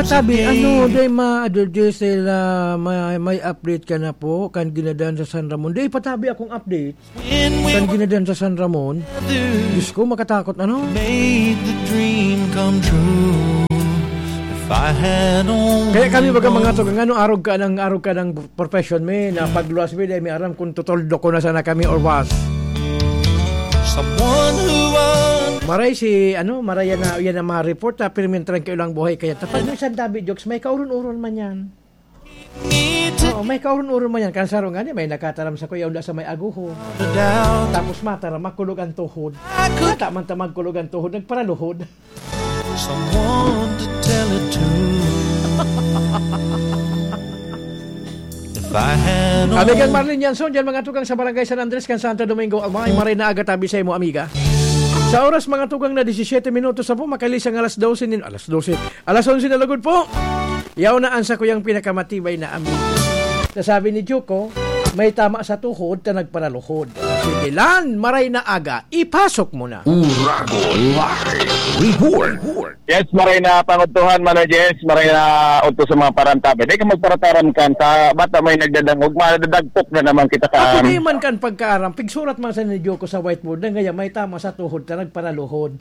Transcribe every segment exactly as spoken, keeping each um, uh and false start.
Sabi, ano, day ma, Adol Diesel, ah, may, may update ka na po, kan ginadan sa San Ramon. Day, patabi akong update, kan ginadan sa San Ramon. Diyos ko, makatakot, ano? Made the dream come true. If I had only Kaya kami, baga, mga known. Tugang, ano, arog ka ng, arog ka ng profession, me, na pagluwas, me, day, may aram kung tutuldo ko na sana kami or was. Someone who was Maray si, ano, maray yan na, yan na ma-report, ha, pero may trangkilo lang buhay kaya. Tapos minsan, David Jokes, may kaurun-urun man yan. Oo, may kaurun-urun man yan. Kan saro nga niya, may nakataram sa kuya, unda sa may aguho. Tapos mataram, makulog ang tuhod. Mata man ta magkulog ang tuhod, nagparaluhod. Someone to tell it to. If I had Amigan only Marlene Yanson, dyan mga tugang sa Barangay San Andres, kan Santo Domingo, Albay, maray na aga tabi sa imo, amiga. Sa oras, mga tugang, na disisyete minutos na po, makalisang alas dose nin, alas dose, alas onse na lugod po. Yaw na ang sakuyang pinakamatibay na amigo. Nasabi ni Joko, may tama sa tuhod na nagparaluhod. Sige, Lan, maray na aga, ipasok mo na. Uragon Live Report. Yes, maray na pangudtuhan, Mano Jess, maray na udto sa mga parantabi. Di ka magparataram kan sa bata may nagdadangog, madadagpok na naman kita Ako ka. Di man kan pagkaaram, pigsurat man sa ni Joko sa whiteboard na ngayon may tama sa tuhod na nagparaluhod.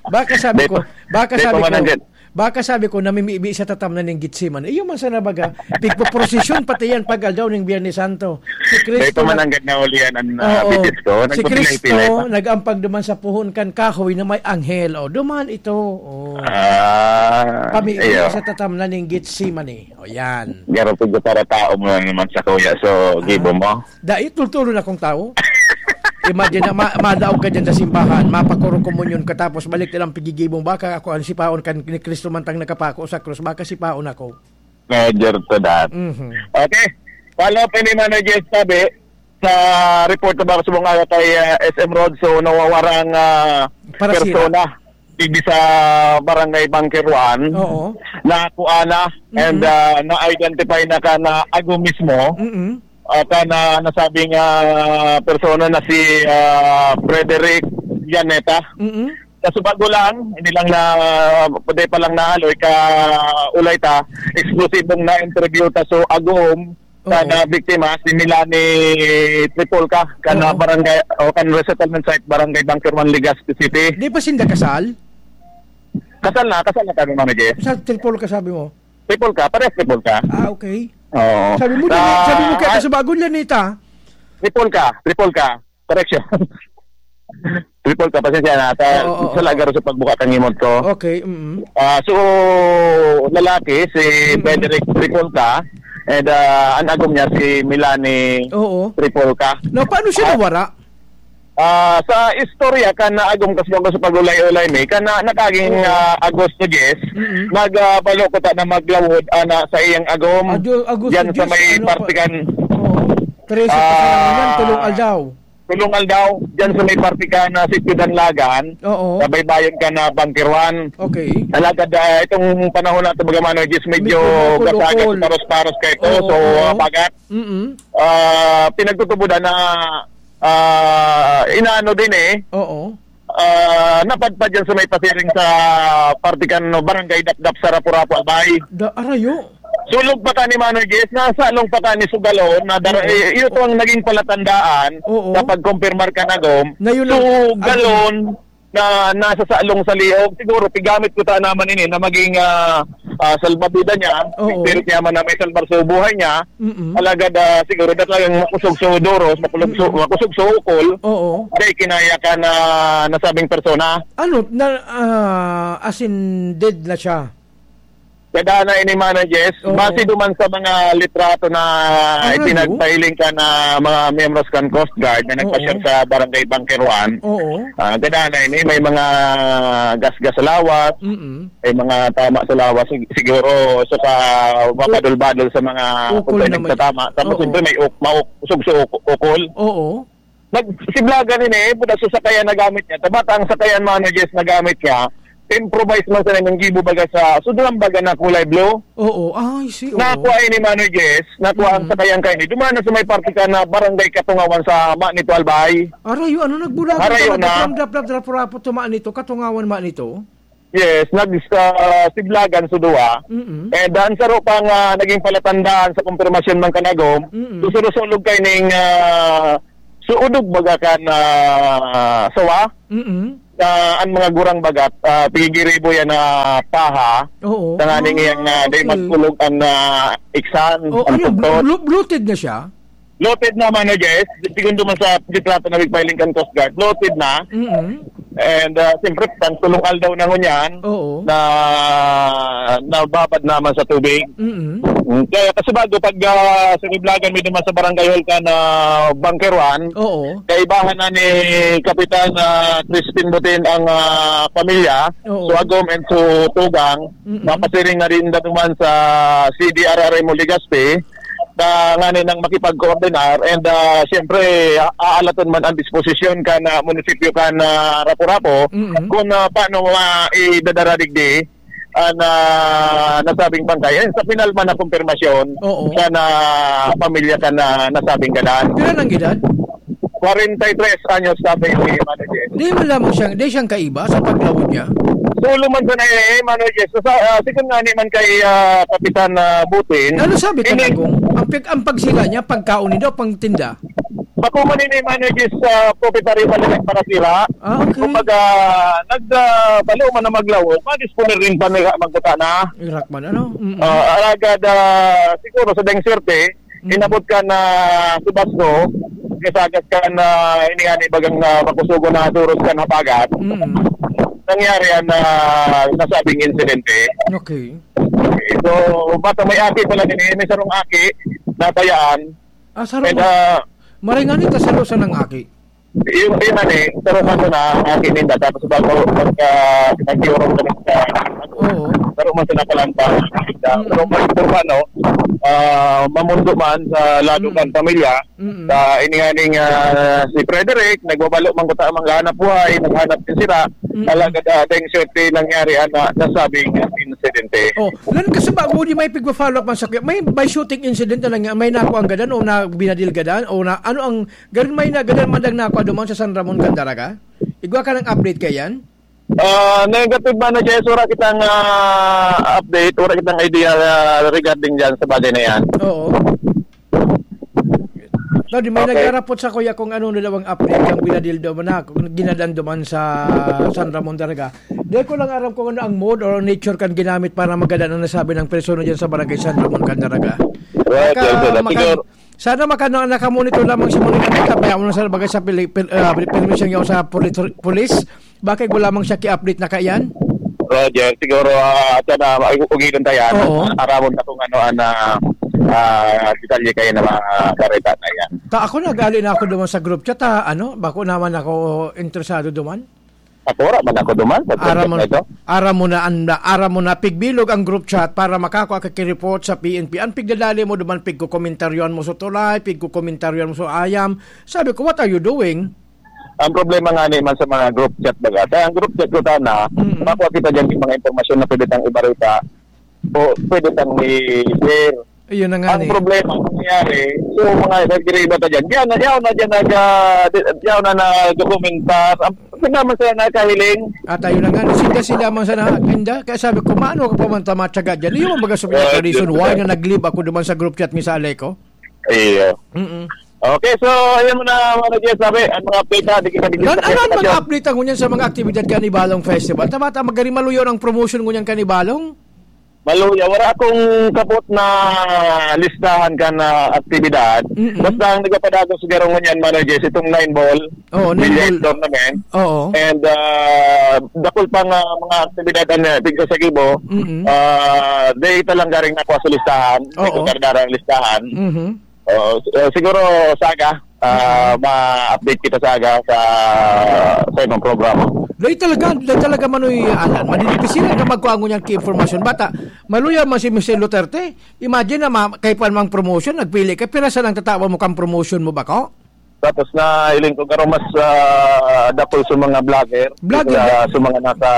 Baka sabi Di ko, pa, baka di sabi pa ko, mananggit. Baka sabi ko, namimibi sa tatam na ning Getsemane. Iyo man sana baga, pigpoprosesyon pati yan pag aldaw ning Biyernes Santo. Si Di Kristo pa na mananggit na ulian ang, ah, Oo. bitis ko. Si Nagpapilay-pilay Kristo pa. nag-ampag duman sa puhon kan kahoy na may anghel. O, duman ito. O. Ah, Pamibi iyo. sa tatam na ning Getsemane. O, yan. Garo po para tao mo lang naman sa kuya. So, Ah. gibo mo. Dai, tultulon akong tao. Imagine na, ma-, madaog ka dyan sa simbahan, mapakuro komunyon ka, tapos balik nilang pigigibong baka ako ang sipaon kan ni Kristo man tang nakapako sa krus, baka sipaon ako. Major to that. Mhm. Okay. Follow up ini, Mano Jess, sabi, sa report na baka subong nga kay, ah, S M Road, so nawawarang, ah, Parasira. persona. Digdi sa Barangay Bunker One, Oo. nakuha na and, Mhm. ah, na-identify na ka na ago mismo, Mm-mm. ah, ka na nasabing, ah, persona na si, ah, Frederick Llaneta. Mm-mm. Sa subago lang, hindi lang na, pwede pa lang naaloy ka ulay ta, eksplosibong na-interview ta so agom, Oo. Kan, ah, biktima, si Milani Tripolca, kan, Oo. ah, barangay, o kan resettlement site, Barangay Bunker One, Legazpi City. Di ba sinda kasal? Kasal na, kasal na kami, Mano Jess. Sa Tripolca, sabi mo? Tripolca, parehas Tripolca. Ah, okay. Oo. Sabi mo, Sa, dali, sabi mo kaya ah, sa bago, Llaneta. Tripolca, Tripolca. Correction. Tripolca, pasensya na. Sa, Oo, oo, sa oo. lagar sa pagbuka kan ngimot ko. Okay, mm. Ah, so, lalaki, si Mm. Frederick Tripolca, and, ah, ang agom niya, si Milani Oo. Tripolca. Now, paano siya Ah, nawara? ah, sa istorya, kan naagom kas bago sa pag-ulay-ulay mi, kan na, nakaging, Oo. ah, Agosto diyes, Mm. nag, ah, balo ko ta na maglawod, ah, na sa iyang agom, Ado-, Agosto dyan sa diyes, may ano pa? parte kan Oo. Trese pa sa Ah. naman, tulong aldaw. Tulong aldaw, dyan sa may parte ka na Sitio Danlagan, Oo. sa baybayon ka na Bunker One. Okay. Alagad, ah, itong panahon na ito, baga, Mano Jess, medyo Medyo ukol-ukol. gasagat, paros-paros ka ito. Oo, So, oo. ah, bagat. Mm-mm. Ah, pinagtutubodan na, ah, inaano din eh. Oo. Ah, napadpad yan sa may pasiring sa parte kan, no, Barangay Dapdap sa Rapu-Rapu, Albay. Da-, arayo. Sulog pa ka ni Manoy Jess, nasa along pa ka ni Sugalon, na dara-, Oo. eh, ito ang naging palatandaan Oo. na pagkumpirmar ka na, Gom. Na yun ang Sugalon na nasa salong sa liog. Siguro, pigamit ko ta naman ini na maging, ah, ah, salbabida niya. Oo. Spirit niya man na may salbar sa buhay niya. Mm-mm. Alagad, ah, siguro, na talagang makusog sa duros, makusog sa, Mm-mm. makusog sa ukol. Oo. Kaya kinaya ka na nasabing persona. Ano, na, ah, as in, dead na siya? Kadana ini, Manoy Jess. Oo. Base duman sa mga litrato na Ah, ano? ipinagpahiling ka na mga miyembros kan Coast Guard na nagpa-share Oo. sa Barangay Bunker One. Oo. Ah, kadana ini, may mga gasgas sa lawas, Mm-mm. may mga tama sa lawas, sig-, siguro, so ka mapadol-badol sa mga Ukol kung naman. nagtatama. Tapos, Oo. siyempre, may uk-, mauk-, usog sa uk-, ukol. Oo. Nag-, siblagan ini, eh, buda sa sakayan na gamit niya. Tabata ang sakayan, Manoy Jess, na gamit niya, improvise man sa nang gibo baga sa, so, dulang baga na kulay blue. Oo, ah, I see, oo. Nakuha ini, Manoy Jess, nakuha ang Mm. sakayan kaini. Duman na sa may parte ka na barangay Katungawan sa Manito, Albay. Arayo, ano, nagbulagan Arayo pala, na. Dapdap, dapdap, rapo-rapo, tumaan nito, Katungawan, Manito? Yes, nag-, ah, siblagan sa duwa. Mm-mm. And ang saro pa nga naging palatandaan sa kumpirmasyon man kanagom, Mm-mm. susurusulog kay ning, ah, suudog baga kan, ah, sawa. Mm-mm. Na ang mga gurang bagat, ah, pigigiribo yan na paha. Oo. Tanganing Ah, iyang, ah, dahil okay. magkulog ang, ah, iksan, Oh, ang ano, pagtot. blo-, bloated na siya? Bloated na, Mano Jess. Segundo man sa litrato na nagpiling kan Coast Guard, bloated na. Mm-mm. And, ah, siyempre, pang tulong aldaw na ngunyan Oo. na nababad naman sa tubig. Mm-mm. Mm, kaya kasi bago pag, ah, siniblagan mi naman sa Barangay Hall kan Bunker One, Oo. kaibahan na ni Kapitan, ah, Crispin Butin ang, ah, pamilya, Oo. so agom and so tugang, Mm-mm. mapasiring na rin naman sa C D R R M o Legazpi, na nganing makipagkoordinar and, ah, siyempre, a-, aalaton man ang disposisyon kan, ah, munisipyo kan, ah, Rapu-Rapu Mm-mm. kung, ah, paano ma-, idadara digdi ang, ah, nasabing bangkay. And sa final man na kumpirmasyon Oo. sa na pamilya kan, ah, nasabing gadan. Pila nang edad? Kwarenta y tres anyos, sabi ni Mano Jess. Di man lamang siyang, di siyang kaiba sa paglawod niya? Sulo man sa na, eh, Mano Jess. Sa, ah, second nga ni man kay, ah, Kapitan, ah, Butin. Ano sabi ka, Ini- Nagong? Ang pag-, ang pagsira niya, pagkaon niya o pangtinda? Bako man ini, Mano Jess, ah, propietario pa rin nagpakasira. Ah, okay. Kumbaga, nag, ah, balo man na maglawod, madisponer rin pa nila magkuta na. Irak man, ano? Mm-mm. Ah, alagad, ah, siguro sa deng swerte, Mm. inabot kan, ah, si Basco, kasagas kan, ah, ini nga ni bagang, ah, makusugon na duros kan habagat. Mm. Nangyari ang, ah, nasabing insidente. Okay. Okay. So, basta may aki pala din, eh, may sarong aki, natayaan. Ah, sarong And, ah, Maray nga ni, ta sarong sa nang aki. Yung, yung ano eh, sarong ano na, aki ninda, tapos bago, pagka, nagtiurong kami sa, Oo. sarong man sa napalampa, Mm. sarong man sa ano, ah, mamundo man sa lado Mm. man pamilya, Mm. sa ini nga ning, ah, si Frederick, nagbabalo man kuta, maghanap buhay, naghanap din sila, Mm. alagad, ah, dahil swerte nangyari ang, ah, nasabing insidente. Oh, lan kasi bago di may pigpa-follow up man sa kuya, may by shooting incident na lang, may nakuha ang gadan o na binadil gadan o na, ano ang Ganun may na, ganun man lang nako duman sa San Ramon kan Daraga? Igwa ka ng update kaiyan? Ah, negative man na, Jess. Wala kitang, ah, update, wala kitang idea, ah, regarding dyan sa bagay na yan. Oo. No, di may Okay. nagarapot sa kuya kung ano na daw ang update, ang binadil daw man na, kung ginadan duman sa San Ramon Daraga. Di ko lang aram kung ano ang mode or nature kan ginamit para magadan ang nasabi ng persona dyan sa barangay San Ramon kan Daraga. Right, Baka yes, sir. maka-, Siguro, Sana maka-, na-, nakamonitor lamang si Manong Anita, kaya mo na sa bagay sa pili-, pil-, ah, permisyon niya sa poli-, polis. Bakit wala mang siya ki-update na kaiyan? Roger, siguro, ah, siya na, ay, ugilan tayo, ano? Oo. Aramon na kung ano, ah, na, ah, detalye kayo na mga kareta na yan. Ta, ako nagali na ako duman sa group chat, ha, ano? Bako naman ako interesado duman. Ako, wala man ako duman sa Aram mo, subject na ito. aram mo na, anda, aram mo na, pigbilog ang group chat para makakua ka ki report sa P N P. Ang pigdadali mo duman, pigkokomentaryon mo sa tulay, pigkokomentaryon mo sa ayam. Sabi ko, "What are you doing?" Ang problema nga ni man sa mga group chat baga. Kaya ang group chat ko sana, Mm-mm. makuha kita dyan yung mga impormasyon na pwede tang ibarita o pwede tang i-share. Ayun na nga Ang ni. problema, ang nangyari, so, mga nagdiriba ta dyan. Diyan na, diyan na, diyan nag, ah, di-, diyan na nagdokumentar. Ang, hindi naman sila nakahiling. At ayun na nga, sinda-sinda man sana, kinda. Kaya sabi ko, "Maano ka pa man tama, tiyaga dyan?" Yun ang baga sabi niya, Well, reason yun why na. na nag-leave ako duman sa group chat ni sa Aleco. Iyo. Mm-mm. Okay, so, ayun muna, mga Jess, sabi, ang mga update na, di kita, di kita Nan-, ano ang mga update ang ngunyan sa mga aktibidad kan Ibalong Festival? Tama, tama, gari maluyo ang promotion ngunyan kan Ibalong? Maluya, wala akong kapot na listahan kan, ah, aktibidad. Mm-mm. Basta ang nagpapadagos siguro ngunyan, Mano Jess, itong nine ball Oo, nine billiard ball. tournament. Oo. And, ah, dakul pang, ah, mga aktibidad ang, ah, tigsa sa Kibo. Mm-mm. Ah, dahil ito lang garing nakuha sa listahan. May Oo. kukardarang listahan. Mhm. Oo, s-, eh, siguro sa aga, ah, Mm. ma-update kita sa aga sa, sa ibang programa. Dahil talaga, dahil talaga, Manoy Alan, madidipisilan ka magkuha ngunyan ki impormasyon. Bata, maluya man si Mister Duterte. Imagine na ma-, kay pa mang promotion, nagpili ka, pira sa nang tatawan mo kang promotion mo ba ko? Tapos na hiling ko, pero mas, ah, dakul sa mga vlogger, Vlogger, sa, di- sa mga nasa,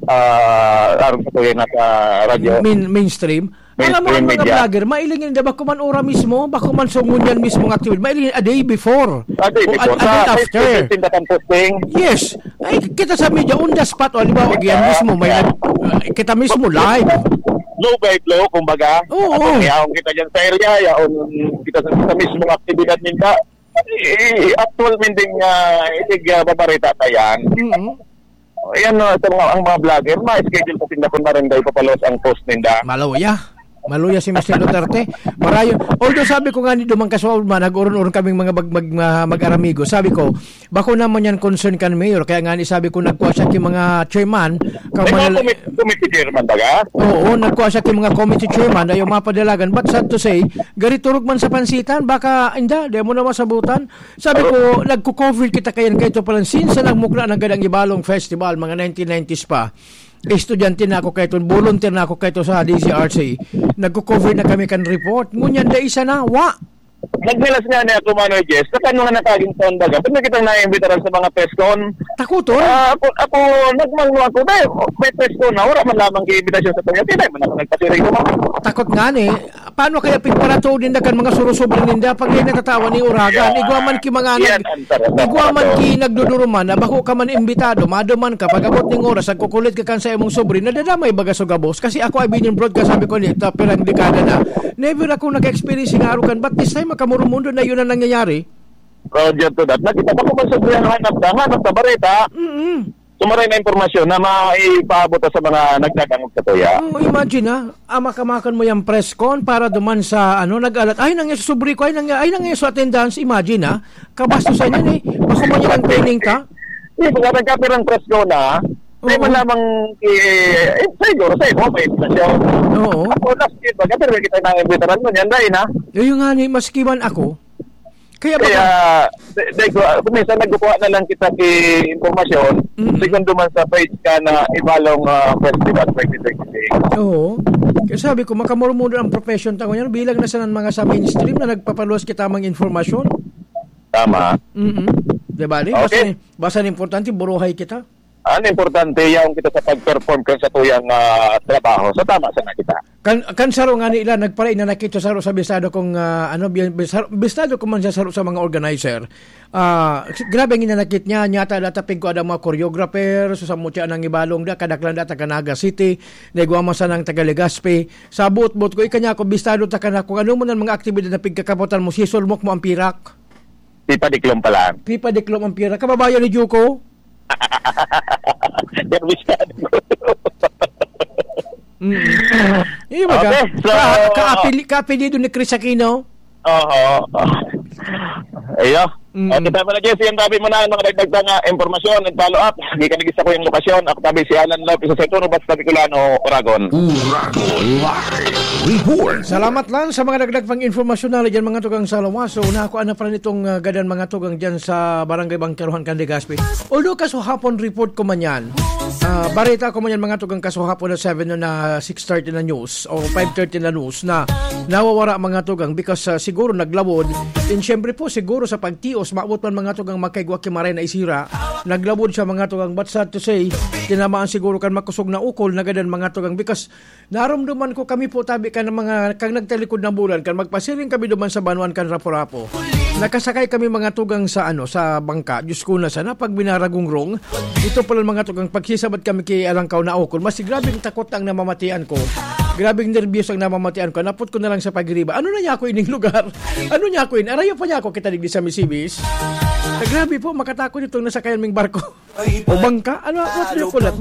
ah, arong sa kuya, nasa radyo. Main-, mainstream. Alam mo, ang mainstream mga media. Vlogger, mailing yun, di ba, kuman ora mismo, ba kuman so ngunyan mismo nga activity, mailing a day before. A day O, a, before. a day Sa after. Facebook, tinda kang posting. Yes. Ay, kita sa media, on the spot, o, halimbawa, Yeah. yan mismo, may Yeah. nag-, uh, kita mismo, live. Blow by blow, kumbaga. Oo. Atong yaon kita dyan sa area, yaon kita sa, sa mismong aktibidad ninda. Eh, actual mending, ah, itig, ah, babarita ta yan. Mm-hmm. Yan, no, sa mga, ang mga vlogger, ma-schedule pa tinda kung marinday papalos ang post ninda. Maluya. Maluya si Mister Duterte. Marayo. Although sabi ko nga ni Dumang Kaswal man, nag-uron-uron kaming mga mag-, mag-, mga mag-aramigo. Sabi ko, bako naman yan concern kan mayor. Kaya nga ni sabi ko, nagkuha siya ki mga chairman. May mga Kamanal- committee, committee chairman, baga? Oo, nagkuha siya ki mga committee chairman. Ayaw mapadalagan. But sad to say, gari turog man sa pansitan. Baka, inda, di mo na masabutan. Sabi ko, nagko-cover kita kayan kaito palan since sa nagmukla ng Gadang Ibalong Festival, mga nineteen nineties pa. Estudyante na ako kaito, volunteer na ako kaito sa D C R C. Nagko-cover na kami kan report. Ngunyan, dai sana, wa. Nagmilas nga na ako, Manoy Jess, sa kan mga nakaging taon baga, pag nakita na imbitaran sa mga press con, Takuton? Ah, ako, ako, nagmangno ako, dahil may press con na, wala man lamang imbitasyon sa tuya, di man ako nagpasiring naman. Takot nga ni, paano kaya pigparatuod ninda kan mga surusubre ninda pag yan natatawa ni Uragan? Yeah. Igwa man ki mga Yan nag-, ang sarap. igwa man ki nagduduruman na bako ka man imbitado, maduman ka, pag-abot ning oras, nagkukulit ka kan sa imong sobre, nadadamay baga sa gabos. Kasi ako ay binibroadcast, sabi ko, ni, ta, pirang dekada na. Never ako naka-experience ng arukan, but this time, makamurumundo na yun ang nangyayari. Roger to that. Nakita mo kung may sobre ang hanap na, hanap na bareta. Mm-mm. Sumaray na impormasyon na maipaabot sa mga nagdadangog sa tuya. Oh, imagine, ah. Amak-amakan mo yung press con para duman sa, ano, nag-alat. Ay, nang yung sobre ko, ay, nang, ay, nang yung sa attendance. Imagine, ah. Kabastusan yan, eh. Bako man yan ang training ka. Hindi, pag nagkapirang press con na, may Oo. man lamang, eh, eh, siguro, sa iba, may inflation. Oo. Ako, last year, pag kapirang kita na yung veteran mo, yan, dahil na. Yun nga, ni, maski man ako, Kaya Kaya, baka di, di ko, ah, kung minsan nagkukuha na lang kita ki impormasyon, Mm. segundo man sa page ka na Ibalong, ah, Festival twenty twenty-six. Oo. Kaya sabi ko, makamurmudo ang profession ta ngunyan, bilang na sa mga sa mainstream na nagpapaluwas kita mang informasyon. Tama. Mm-mm. Di ba, ni? Basta Okay. ni, basta ni importante, buruhay kita. Ang importante, yaon kita sa pag-perform kan sa tuyang, ah, trabaho. So, tama sana kita. Kan, kan saro nga ni ila, nagparainanakit sa saro sa bistado kong, ah, ano, bi-, bisar-, bistado ko man siya saro sa mga organizer. Ah, s-, grabe ang inanakit niya, nyata datapig ko ada mga choreographer, so sa mutya nang ibalong da, kadaklan da, taga Naga City, naigwa man sanang taga Legazpi. Sa buot-buot ko, ikanya ako, bistado ta ka na kung ano man ang mga aktibidad na pigkakapotan mo, sisulmok mo ang pirak. Pipadiklom pala. Pipadiklom ang pirak. Kababayan ni Juco? Yan, bistado ko. Mm. Yung baga, Okay, so, ka-, kaapili-, kaapelido ni Chris Aquino? Oo. Ayo. Mm. O, kita mo na, Jesse, ang tabi mo na, ang mga dagdag na nga impormasyon and follow-up. Di ka nagisa ko yung lokasyon. Ako tabi si Alan Lopez sa Centro, Basta Bicolano, Oragon. Uragon Live Report. Salamat lang sa mga dagdag pang impormasyon na dyan, mga tugang sa lawas. So, nakuha na pala nitong, ah, gadan, mga tugang dyan sa Barangay Bangkerohan, Candigaspi. Although, kasuhapon report ko man yan. Ah, bareta ko man yan, mga tugang, kasuhapon na seven na, na six thirty na news o five thirty na news na nawawara, mga tugang, because, ah, siguro naglawod. And syempre po, siguro sa pagtios, maabot man, mga tugang, makaigwa ki maray na isira. Naglawod siya, mga tugang, but sad to say, tinamaan siguro kan makusog na ukol na gadan, mga tugang, because narumduman ko kami po, tabi kan mga, kan nagtalikod na bulan, kan magpasiring kami duman sa banwaan kan Rapu-Rapu. Nakasakay kami, mga tugang, sa, ano, sa bangka. Diyos ko, na sana pag binaragungrong. Ito pala, mga tugang, pagsisabat kami ki Alangkaw na ukol. Mas grabing takot ang namamatian ko. Grabing nerbyos ang namamatian ko. Napot ko na lang sa pagiriba. Ano na niya ako ining lugar? Ano niya ako in? Arayo pa niya ako kita digdi sa Misibis. Ah, grabe po, makatakot itong nasakayan ming barko. O bangka? Ano, what do you call that?